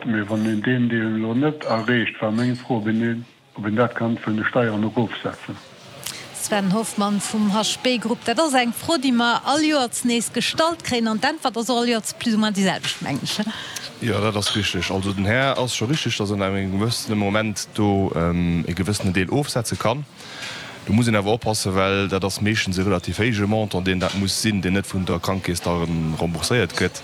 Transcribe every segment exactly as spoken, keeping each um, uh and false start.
Mee wann een deen Deel elo net erreecht, war meng Fro, ob een ob een dat kann vun de Steieren erofsetzen. Sven Hoffmann vum H B Group, Dat ass eng Fro, déi mer all Joers nees gestallt kréien, an d'Äntwert ass och all Joers plus ou moins déi selwecht, mengen ech. Jo, dat ass richteg. Also den Här ass scho richteg, datt en engem gewëssene Moment do e gewëssenen Deel ofsetze kann. Do muss een awer oppassen, well dat ass meeschtens e relativ héije Montant, deen dat muss sinn, deen net vun der Krankekeess da rembourséiert gëtt.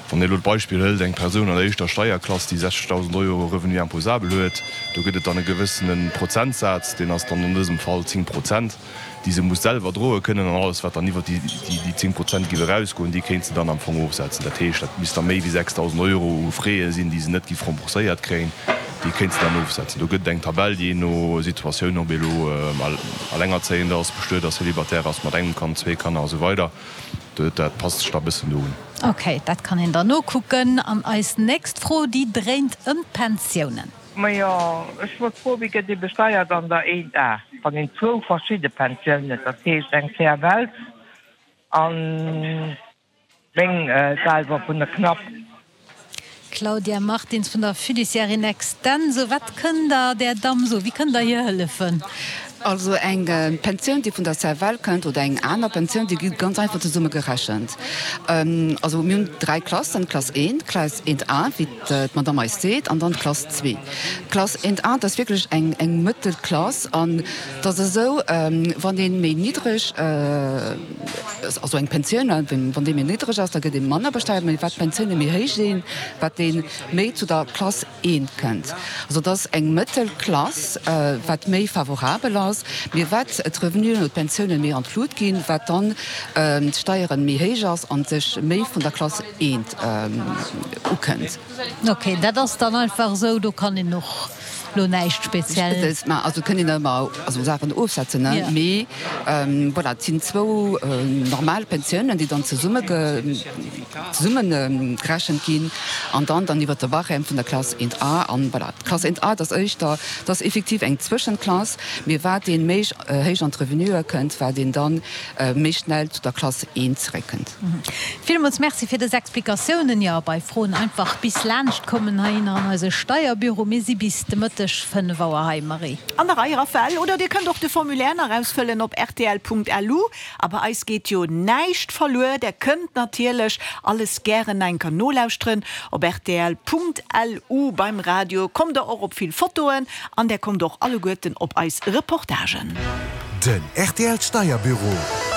Wann ee elo d'Beispill hëlt, eng Persoun an der éischter Steierklass, déi sechzegdausend Euro Revenu imposable huet, do gëtt et dann e gewëssene Prozentsaz, deen ass dann an dësem Fall zéng Prozent, déi se muss selwer droe kënnen, an alles, wat dann iwwert déi zéng Prozent géif erausgoen, déi kéint se dann am Fong ofsetzen. Dat heescht, dat misst da méi wéi sechsdausend Euro u Frais sinn, déi se net géif rembourséiert kréien, déi kéint se dann ofsetzen. Do gëtt et eng Tabell, jee no Situatioun, ob ee elo alengerzéiend ass, bestuet ass, célibataire ass, mat engem Kand, zwee Kanner a sou weider. Dat passt sech da bëssen do un. Ok, dat kann een dann nokucken. An eis nächst Fro, déi dréint ëm d'Pensiounen. Majo, ech wollt froen, wéi gëtt ee besteiert an der eent A, wann een zwou verschidde Pensiounen huet, dat heescht eng C F L an meng selwer vun der Knapp? Claudia Martins vun der Fiduciaire in Extenso, wat kënnt Der där Damm soen? Wéi kënnt Der hir hëllefen? Also eng Pensioun, déi vun der C F L kënnt, oder eng aner Pensioun, déi gi ganz einfach zesumme gerechent. Also mir hunn dräi Klassen, d'Klass eent, d'Klass eent A, wéi d'Madame eis seet, an dann d'Klass zwee. D'Klass eent A, dat ass wierklech eng eng Mëttelklass an et ass esou, wann ee méi niddreg, also eng Pensioun, wann déi méi niddreg ass, da gëtt ee manner besteiert, mä wat d'Pensioune méi héich sinn, wat ee méi zu der Klass eent kënnt. Also et ass eng Mëttelklass, wat méi favorabel ass. Mee wat d'Revenuen oder d'Pensiounen méi an d'Lut ginn, wat dann d'Steieren méi héich ass an sech méi vun der Klass eent ukënnt. Ok, dat ass dann einfach esou, do kann een och lo näischt speziell. Ma also kënnt een ëmmer also Saachen ofsetzen, ne? Mee voilà, et sinn zwou normal Pensiounen, déi dann zesumme zesumme gerechent ginn an dann dann iwwert de Barème vun der Klass eent A. An voilà, d'Klass eent A, dat ass éischter, dat ass effektiv eng Zwëschenklass, mee wat een méi héich an d'Revenuë kënnt, wat een dann méi schnell zu der Klass eent zeréckkënnt. Villmools Merci fir dës Explikatiounen. Jo, bei Froen einfach bis laanscht kommen heihinner an eise Steierbüro. Mir si bis de Mëtteg fënnef Auer hei, Marie. An der Rei, Raphaëlle, oder dir kënnt och de Formulaire nach ausfëllen op rtl Punkt L U. A bei eis geet jo näischt verluer, der kënnt natierlech alles gären enker nolauschteren op rtl Punkt L U. Beim Radio kommt der och op vill Fotoen an der kommt och alleguerten op eis Reportagen. Den R T L Steierbüro.